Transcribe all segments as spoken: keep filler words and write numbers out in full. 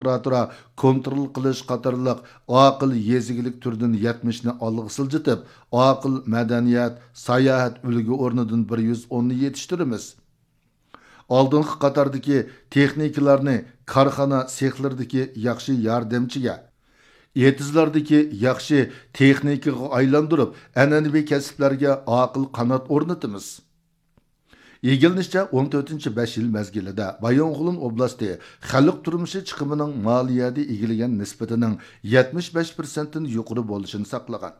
ئاپپاراتورا، كونترول قىلىش قاتارلىق ئاقىل يېزا ئىگىلىك تۈرىدىن يەتمىشنى ئالغا سىلجىتىپ، ئاقىل مەدەنىيەت، ساياھەت ئۈلگە ئورنىدىن بىر يۈز ئوننى يېتىشتۈرىمىز. ئالدىنقى قاتاردىكى تېخنىكلارنى كارخانا سېخلىرىدىكى ياخشى ياردەمچىگە، ئېتىزلاردىكى ياخشى تېخنىكىغا ئايلاندۇرۇپ، ئەنئەنىۋى كەسىپلەرگە ئاقىل قانات ئورنىتىمىز. ئىگىلىنىشىچە، ئون تۆتىنچى بەش يىل مەزگىلىدە بايىنغولىن ئوبلاستى خەلق تۇرمۇشى چىقىمىنىڭ مالىيەدە ئىگىلىگەن نىسبىتىنىڭ يەتمىش بەش پىرسەنتتىن يۇقىرى بولۇشىنى ساقلىغان.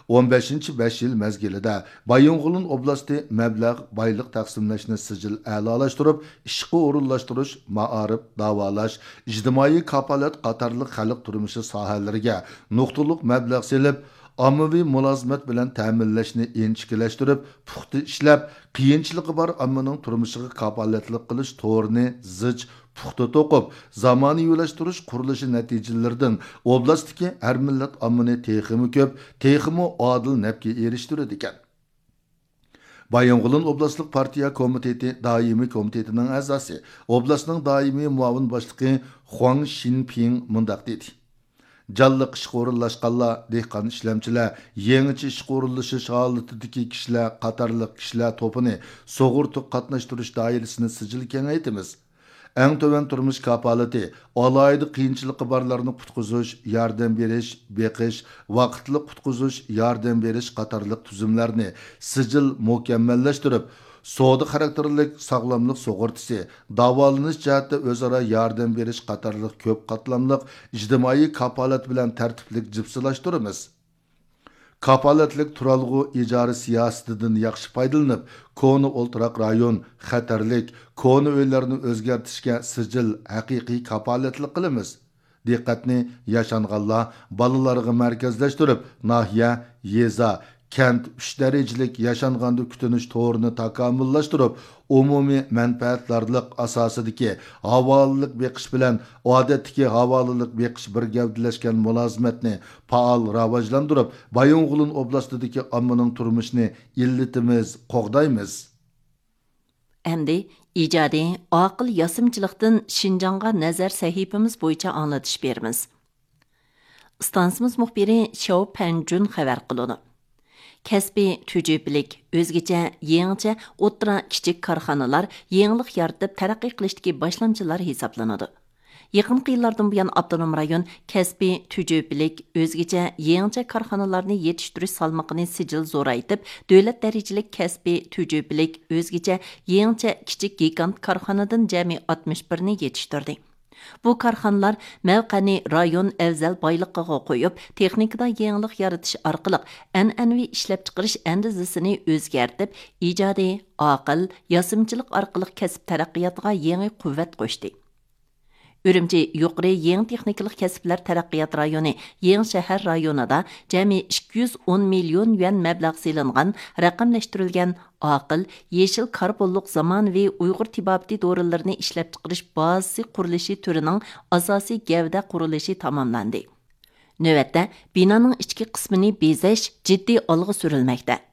ئون بەشىنچى بەش يىل مەزگىلىدە بايىنغولىن ئوبلاستى مەبلەغ، بايلىق تەقسىملەشنى سىجىل ئەلالاشتۇرۇپ، ئىشقا ئورۇنلاشتۇرۇش، مائارىپ، داۋالاش، ئىجتىمائىي كاپالەت قاتارلىق خەلق تۇرمۇشى ساھەلىرىگە نۇقتىلىق مەبلەغ سېلىپ، ئاممىۋى مۇلازىمەت بىلەن تەمىنلەشنى ئىنچىكىلەشتۈرۈپ، پۇختا ئىشلەپ، قىيىنچىلىقى بار ئاممىنىڭ تۇرمۇشىغا كاپالەتلىك قىلىش تورىنى زىچ، پۇختا توقۇپ، زامانىۋىلاشتۇرۇش قۇرۇلۇشى نەتىجىلىرىدىن ئوبلاستتىكى ھەر مىللەت ئاممىنى تېخىمۇ كۆپ، تېخىمۇ ئادىل نەپكە ئېرىشتۈرىدىكەن. بايىنغولىن ئوبلاستلىق پارتىيە كومىتېتى دائىمىي كومىتېتىنىڭ ئەزاسى، ئوبلاستنىڭ دائىمىي مۇئاۋىن باشلىقى خۇاڭ شىنپىڭ مۇنداق دېدى: جانلىق ئىشقا ئورۇنلاشقانلار، دېھقان ئىشلەمچىلەر، يېڭىچە ئىشقا ئورۇنلىشىش ھالىتىدىكى كىشىلەر قاتارلىق كىشىلەر توپىنى سۇغۇرتا قاتناشتۇرۇش دائىرىسىنى سىجىل كېڭەيتىمىز. ئەڭ تۆۋەن تۇرمۇش كاپالىتى، ئالاھىدە قىيىنچىلىقى بارلارنى قۇتقۇزۇش، ياردەم بېرىش، بېقىش، ۋاقىتلىق قۇتقۇزۇش، ياردەم بېرىش قاتارلىق تۈزۈملەرنى سىجىل مۇكەممەللەشتۈرۈپ، سودا خاراكتېرلىك ساغلاملىق سۇغۇرتىسى، داۋالىنىش جەھەتتە ئۆزئارا ياردەم بېرىش قاتارلىق كۆپ قاتلاملىق ئىجتىمائىي كاپالەت بىلەن تەرتىپلىك جىپسىلاشتۇرىمىز. كاپالەتلىك تۇرالغۇ ئىجارە سىياسىتىدىن ياخشى پايدىلىنىپ، كونا ئولتۇراق رايون، خەتەرلىك، كونا ئۆيلەرنى ئۆزگەرتىشكە سىجىل، ھەقىقىي كاپالەتلىك قىلىمىز. دىققەتنى ياشانغانلار، بالىلارغا مەركەزلەشتۈرۈپ، ناھىيە، يېزا، كەنت ئۈچ دەرىجىلىك ياشانغاندا كۈتۈنۈش تورىنى تاكامۇللاشتۇرۇپ، ئومۇمىي مەنپەئەتدارلىق ئاساسىدىكى ھاۋالىلىك بېقىش بىلەن ئادەتتىكى ھاۋالىلىك بېقىش بىر گەۋدىلەشكەن مۇلازىمەتنى پائال راۋاجلاندۇرۇپ، بايىنغولىن ئوبلاستىدىكى ئاممىنىڭ تۇرمۇشىنى ئىللىتىمىز، قوغدايمىز. ئەمدى ئىجادىي، ئاقىل ياسىمىچىلىقتىن شىنجاڭغا نەزەر سەھىپىمىز بويىچە ئاڭلىتىش بېرىمىز. ئىستانسىمىز مۇخبىرى شياۋ پەنجۈن خەۋەر قىلىدۇ. كەسپىي تۈجۈپىلىك، ئۆزگىچە، يېڭىچە ئوتتۇرا، كىچىك كارخانىلار يېڭىلىق يارىتىپ تەرەققىي قىلىشتىكى باشلامچىلار ھېسابلىنىدۇ. يېقىنقى يىللاردىن بۇيان، ئاپتونوم رايون كەسپىي تۈجۈپىلىك، ئۆزگىچە، يېڭىچە كارخانىلارنى يېتىشتۈرۈش سالمىقىنى سىجىل زورايتىپ، دۆلەت دەرىجىلىك كەسپىي تۈجۈپىلىك، ئۆزگىچە، يېڭىچە، كىچىك گىگانت كارخانىدىن جەمئىي ئاتمىش بىرنى يېتىشتۈردى. بۇ كارخانىلار مەۋقەنى رايون ئەۋزەل بايلىقىغا قويۇپ، تېخنىكىدا يېڭىلىق يارىتىش ئارقىلىق ئەنئەنىۋى ئىشلەپچىقىرىش ئەندىزىسىنى ئۆزگەرتىپ، ئىجادىي، ئاقىل، ياسىمىچىلىق ئارقىلىق كەسىپ تەرەققىياتىغا يېڭى قۇۋۋەت قوشتى. ئۈرۈمچى يۇقىرى يېڭى تېخنىكىلىق كەسىپلەر تەرەققىيات رايونى يېڭى شەھەر رايونىدا جەمئىي ئىككى يۈز ئون مىليون يۈەن مەبلەغ سېلىنغان رەقەملەشتۈرۈلگەن ئاقىل، يېشىل كاربونلۇق زامانىۋى ئۇيغۇر تېبابىتى دورىلىرىنى ئىشلەپچىقىرىش بازىسى قۇرۇلۇشى تۈرىنىڭ ئاساسىي گەۋدە قۇرۇلۇشى تاماملاندى. نۆۋەتتە، بىنانىڭ ئىچكى قىسمىنى بېزەش جىددىي ئالغا سۈرۈلمەكتە.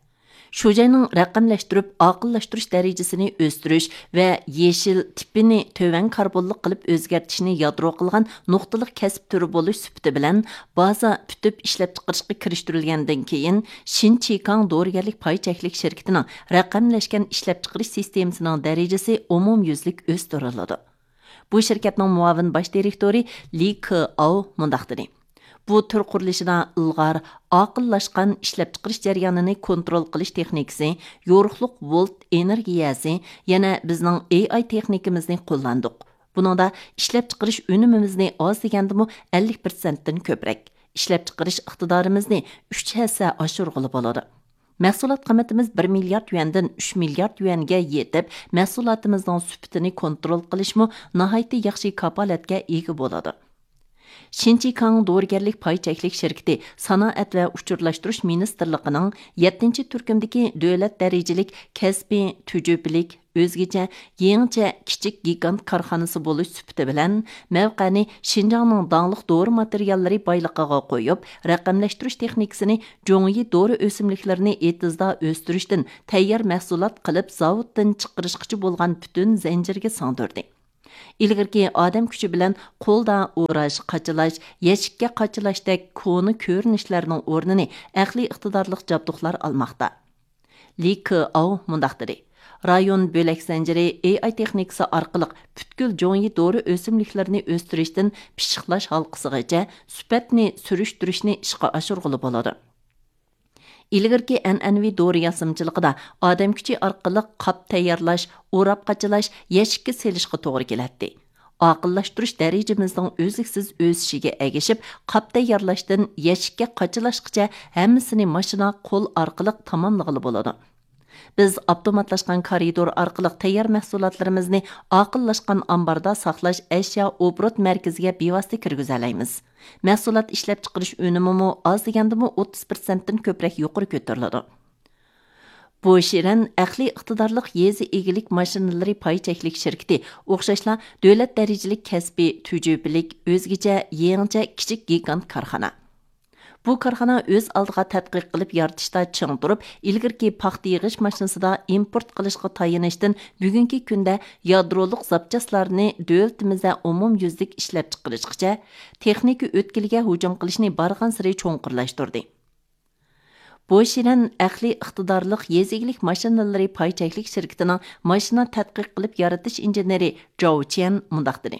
شۇ جاينىڭ رەقەملەشتۈرۈپ ئاقىللاشتۇرۇش دەرىجىسىنى ئۆستۈرۈش ۋە يېشىل تىپىنى تۆۋەن كاربونلۇق قىلىپ ئۆزگەرتىشنى يادرو قىلغان نۇقتىلىق كەسىپ تۈرى بولۇش سۈپىتى بىلەن، بازا پۈتۈپ ئىشلەپچىقىرىشقا كىرىشتۈرۈلگەندىن كېيىن، شىنچىكاڭ دورىگەرلىك پاي چەكلىك شىركىتىنىڭ رەقەملەشكەن ئىشلەپچىقىرىش سىستېمىسىنىڭ دەرىجىسى ئومۇميۈزلۈك ئۆستۈرۈلىدۇ. بۇ شىركەتنىڭ مۇئاۋىن باش دىرېكتورى لى كېئاۋ مۇنداق دېدى: بۇ تۈر قۇرۇلۇشىدا ئىلغار، ئاقىللاشقان ئىشلەپچىقىرىش جەريانىنى كونترول قىلىش تېخنىكىسى، يورۇقلۇق ۋولت ئېنېرگىيەسى، يەنە بىزنىڭ ئېي ئاي تېخنىكىمىزنى قوللاندۇق. بۇنىڭدا ئىشلەپچىقىرىش ئۈنۈمىمىزنى ئاز دېگەندىمۇ ئەللىك پىرسەنتتىن كۆپرەك، ئىشلەپچىقىرىش ئىقتىدارىمىزنى ئۈچ ھەسسە ئاشۇرغىلى بولىدۇ. مەھسۇلات قىممىتىمىز بىر مىليارد يۈەندىن ئۈچ مىليارد يۈەنگە يېتىپ، مەھسۇلاتىمىزنىڭ سۈپىتىنى كونترول قىلىشمۇ ناھايىتى ياخشى كاپالەتكە ئىگە بولىدۇ. شىنچىكاڭ دورىگەرلىك پاي چەكلىك شىركىتى سانائەت ۋە ئۇچۇرلاشتۇرۇش مىنىستىرلىقىنىڭ يەتتىنچى تۈركۈمدىكى دۆلەت دەرىجىلىك كەسپىي تۈجۈپىلىك، ئۆزگىچە، يېڭىچە كىچىك گىگانت كارخانىسى بولۇش سۈپىتى بىلەن، مەۋقەنى شىنجاڭنىڭ داڭلىق دورا ماتېرىياللىرى بايلىقىغا قويۇپ، رەقەملەشتۈرۈش تېخنىكىسىنى جۇڭيى دورا ئۆسۈملۈكلىرىنى ئېتىزدا ئۆستۈرۈشتىن تەييار مەھسۇلات قىلىپ زاۋۇتتىن چىقىرىشقىچە بولغان پۈتۈن زەنجىرگە سىڭدۈردى. ئىلگىرىكى ئادەم كۈچى بىلەن قولدا ئوراش، قاچىلاش، يەشىككە قاچىلاشتەك كونا كۆرۈنۈشلەرنىڭ ئورنىنى ئەقلىي ئىقتىدارلىق جابدۇقلار ئالماقتا. لى كېئاۋ مۇنداق دېدى: رايون بۆلەك زەنجىرى ئېي ئاي تېخنىكىسى ئارقىلىق پۈتكۈل جوڭيى دورا ئۆسۈملۈكلىرىنى ئۆستۈرۈشتىن پىششىقلاش ھالقىسىغىچە سۈپەتنى سۈرۈشتۈرۈشنى ئىشقا ئاشۇرغىلى بولىدۇ. ئىلگىرىكى ئەنئەنىۋى دورا ياسىمىچىلىقىدا ئادەم كۈچى ئارقىلىق قاپ تەييارلاش، ئوراپ قاچىلاش، يەشىككە سېلىشقا توغرا كېلەتتى. ئاقىللاشتۇرۇش دەرىجىمىزنىڭ ئۈزلۈكسىز ئۆسۈشىگە ئەگىشىپ، قاپ تەييارلاشتىن يەشىككە قاچىلاشقىچە ھەممىسىنى ماشىنا، قول ئارقىلىق تاماملىغىلى بولىدۇ. بىز ئاپتوماتلاشقان كارىدور ئارقىلىق تەييار مەھسۇلاتلىرىمىزنى ئاقىللاشقان ئامباردا ساقلاش ئەشيا ئوبوروت مەركىزىگە بىۋاسىتە كىرگۈزەلەيمىز. مەھسۇلات ئىشلەپچىقىرىش ئۈنۈمىمۇ ئاز دېگەندىمۇ ئوتتۇز پىرسەنتتىن كۆپرەك يۇقىرى كۆتۈرۈلىدۇ. بوشىرەن ئەقلىي ئىقتىدارلىق يېزا ئىگىلىك ماشىنىلىرى پاي چەكلىك شىركىتى ئوخشاشلا دۆلەت دەرىجىلىك كەسپىي تۈجۈپىلىك، ئۆزگىچە، يېڭىچە كىچىك گىگانت كارخانا. بۇ كارخانا ئۆز ئالدىغا تەتقىق قىلىپ يارىتىشتا چىڭ تۇرۇپ، ئىلگىرىكى پاختا يىغىش ماشىنىسىدا ئىمپورت قىلىشقا تايىنىشتىن بۈگۈنكى كۈندە يادرولۇق زاپچاسلارنى دۆلىتىمىزدە ئومۇميۈزلۈك ئىشلەپچىقىرىشقىچە، تېخنىكا ئۆتكىلىگە ھۇجۇم قىلىشنى بارغانسېرى چوڭقۇرلاشتۇردى. بوشىرەن ئەقلىي ئىقتىدارلىق يېزا ئىگىلىك ماشىنىلىرى پاي چەكلىك شىركىتىنىڭ ماشىنا تەتقىق قىلىپ يارىتىش ئىنژېنېرى جاۋ چيەن مۇنداق دېدى: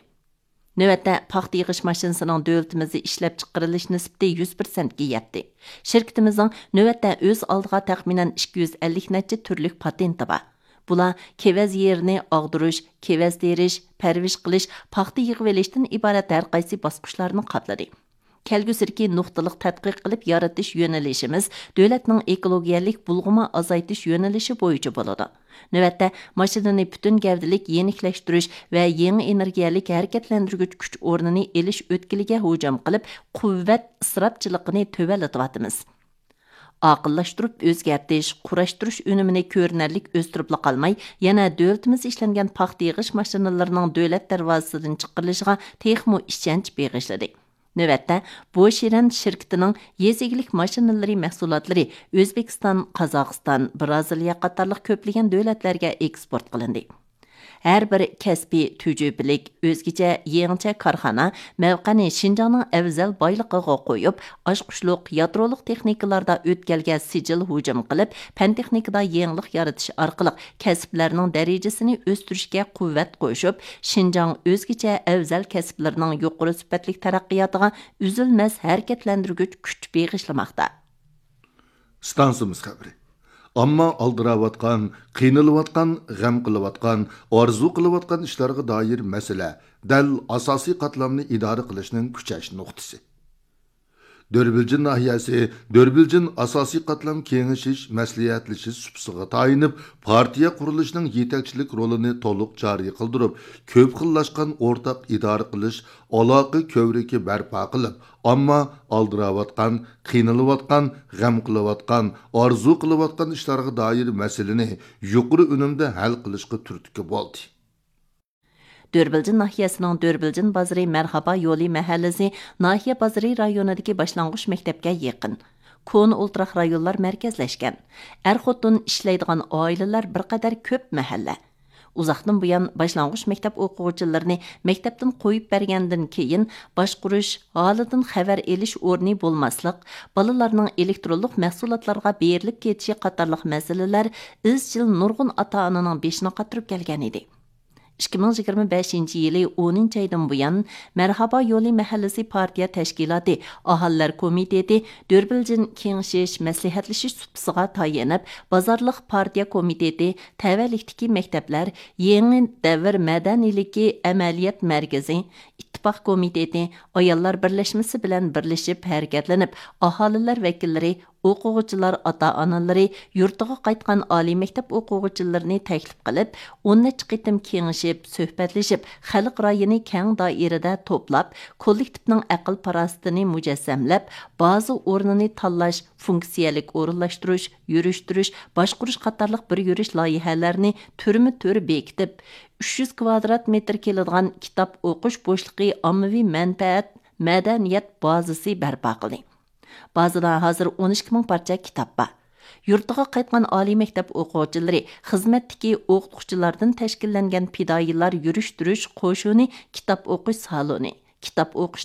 نۆۋەتتە پاختا يىغىش ماشىنىسىنىڭ دۆلىتىمىزدە ئىشلەپچىقىرىلىش نىسبىتى يۈز پىرسەنتكە يەتتى. شىركىتىمىزنىڭ نۆۋەتتە ئۆز ئالدىغا تەخمىنەن ئىككى يۈز ئەللىك نەچچە تۈرلۈك پاتېنتى بار. بۇلار كېۋەز يېرىنى ئاغدۇرۇش، كېۋەز تېرىش، پەرۋىش قىلىش، پاختا يىغىۋېلىشتىن ئىبارەت ھەر قايسى باسقۇچلارنى قاپلىدى. كەلگۈسىدىكى نۇقتىلىق تەتقىق قىلىپ يارىتىش يۆنىلىشىمىز دۆلەتنىڭ ئېكولوگىيەلىك بۇلغىما ئازايتىش يۆنىلىشى بويىچە بولىدۇ. نۆۋەتتە ماشىنىنى پۈتۈن گەۋدىلىك يېنىكلەشتۈرۈش ۋە يېڭى ئېنېرگىيەلىك ھەرىكەتلەندۈرگۈچ كۈچ ئورنىنى ئېلىش ئۆتكىلىگە ھۇجۇم قىلىپ، قۇۋۋەت ئىسراپچىلىقىنى تۆۋەنلىتىۋاتىمىز. ئاقىللاشتۇرۇپ ئۆزگەرتىش، قۇراشتۇرۇش ئۈنۈمىنى كۆرۈنەرلىك ئۆستۈرۈپلا قالماي، يەنە دۆلىتىمىزدە ئىشلەنگەن پاختا يىغىش ماشىنىلىرىنىڭ دۆلەت دەرۋازىسىدىن چىقىرىلىشىغا تېخىمۇ ئىشەنچ بېغىشلىدى. نۆۋەتتە، بوشىرەن شىركىتىنىڭ يېزا ئىگىلىك ماشىنىلىرى مەھسۇلاتلىرى ئۆزبېكىستان، قازاقىستان، بىرازىلىيە قاتارلىق كۆپلىگەن دۆلەتلەرگە ئېكسپورت قىلىندى. ھەر بىر كەسپىي تۈجۈپىلىك، ئۆزگىچە، يېڭىچە كارخانا مەۋقەنى شىنجاڭنىڭ ئەۋزەل بايلىقىغا قويۇپ، ئاچقۇچلۇق، يادرولۇق تېخنىكىلاردا ئۆتكەلگە سىجىل ھۇجۇم قىلىپ، پەن تېخنىكىدا يېڭىلىق يارىتىش ئارقىلىق كەسىپلەرنىڭ دەرىجىسىنى ئۆستۈرۈشكە قۇۋۋەت قوشۇپ، شىنجاڭ ئۆزگىچە ئەۋزەل كەسىپلىرىنىڭ يۇقىرى سۈپەتلىك تەرەققىياتىغا ئۈزۈلمەس ھەرىكەتلەندۈرگۈچ كۈچ بېغىشلىماقتا. ئىستانسىمىز خەۋىرى. ئامما ئالدىراۋاتقان، قىينىلىۋاتقان، غەم قىلىۋاتقان، ئارزۇ قىلىۋاتقان ئىشلارغا دائىر مەسىلە دەل ئاساسىي قاتلامنى ئىدارە قىلىشنىڭ كۈچەش نۇقتىسى. دۆربىلجىن ناھىيەسى دۆربىلجىن ئاساسىي قاتلام كېڭىشىش، مەسلىھەتلىشىش سۇپىسىغا تايىنىپ، پارتىيە قۇرۇلۇشىنىڭ يېتەكچىلىك رولىنى تولۇق جارى قىلدۇرۇپ، كۆپ خىللاشقان ئورتاق ئىدارە قىلىش، ئالاقە كۆۋرۈكى بەرپا قىلىپ، ئامما ئالدىراۋاتقان، قىينىلىۋاتقان، غەم قىلىۋاتقان، ئارزۇ قىلىۋاتقان ئىشلارغا دائىر مەسىلىنى يۇقىرى ئۈنۈمدە ھەل قىلىشقا تۈرتكە بولدى. دۆربىلجىن ناھىيەسىنىڭ دۆربىلجىن بازىرى مەرھابا يولى مەھەللىسى ناھىيە بازىرى رايونىدىكى باشلانغۇچ مەكتەپكە يېقىن. كونا ئولتۇراق رايونلار مەركەزلەشكەن. ئەر-خوتۇن ئىشلەيدىغان ئائىلىلەر بىر قەدەر كۆپ مەھەللە. ئۇزاقتىن بۇيان باشلانغۇچ مەكتەپ ئوقۇغۇچىلىرىنى مەكتەپتىن قويۇپ بەرگەندىن كېيىن، باشقۇرۇش، ھالىدىن خەۋەر ئېلىش ئورنى بولماسلىق، بالىلارنىڭ ئېلېكترونلۇق مەھسۇلاتلارغا بېرىلىپ كېتىشى قاتارلىق مەسىلىلەر ئىزچىل نۇرغۇن ئاتا-ئانىنىڭ بېشىنى قاتۇرۇپ كەلگەن ئىدى. ئىككى مىڭ يىگىرمە بەشىنچى يىلى ئونىنچى ئايدىن بۇيان، مەرھابا يولى مەھەللىسى پارتىيە تەشكىلاتى ئاھالىلەر كومىتېتى دۆربىلجىن كېڭىشىش، مەسلىھەتلىشىش سۇپىسىغا تايىنىپ، بازارلىق پارتىيە كومىتېتى، تەۋەلىكتىكى مەكتەپلەر، يېڭى دەۋر مەدەنىيلىكى ئەمەلىيەت مەركىزى، ئىتتىپاق كومىتېتى، ئاياللار بىرلەشمىسى بىلەن بىرلىشىپ ھەرىكەتلىنىپ، ئاھالىلەر ۋەكىللىرى، ئوقۇغۇچىلار ئاتا-ئانىلىرى، يۇرتىغا قايتقان ئالىي مەكتەپ ئوقۇغۇچىلىرىنى تەكلىپ قىلىپ، ئون نەچچە قېتىم كېڭىشىپ، سۆھبەتلىشىپ، خەلق رايىنى كەڭ دائىرىدە توپلاپ، كوللېكتىپنىڭ ئەقىل-پاراسىتىنى مۇجەسسەملەپ، بازا ئورنىنى تاللاش، فۇنكسىيەلىك ئورۇنلاشتۇرۇش، يۈرۈشتۈرۈش، باشقۇرۇش قاتارلىق بىر يۈرۈش لايىھەلەرنى تۈرمە تۈر بېكىتىپ، ئۈچ يۈز كۋادرات مېتىر كېلىدىغان كىتاب ئوقۇش بوشلۇقى ئاممىۋى مەنپەئەت مەدەنىيەت بازىسى بەرپا قىلدى. بازىدا ھازىر ئون ئىككى مىڭ پارچە كىتاب بار. يۇرتىغا قايتقان ئالىي مەكتەپ ئوقۇغۇچىلىرى، خىزمەتتىكى ئوقۇتقۇچىلاردىن تەشكىللەنگەن پىدائىيلار يۈرۈشتۈرۈش قوشۇنى، كىتاب ئوقۇش سالونى، كىتاب ئوقۇش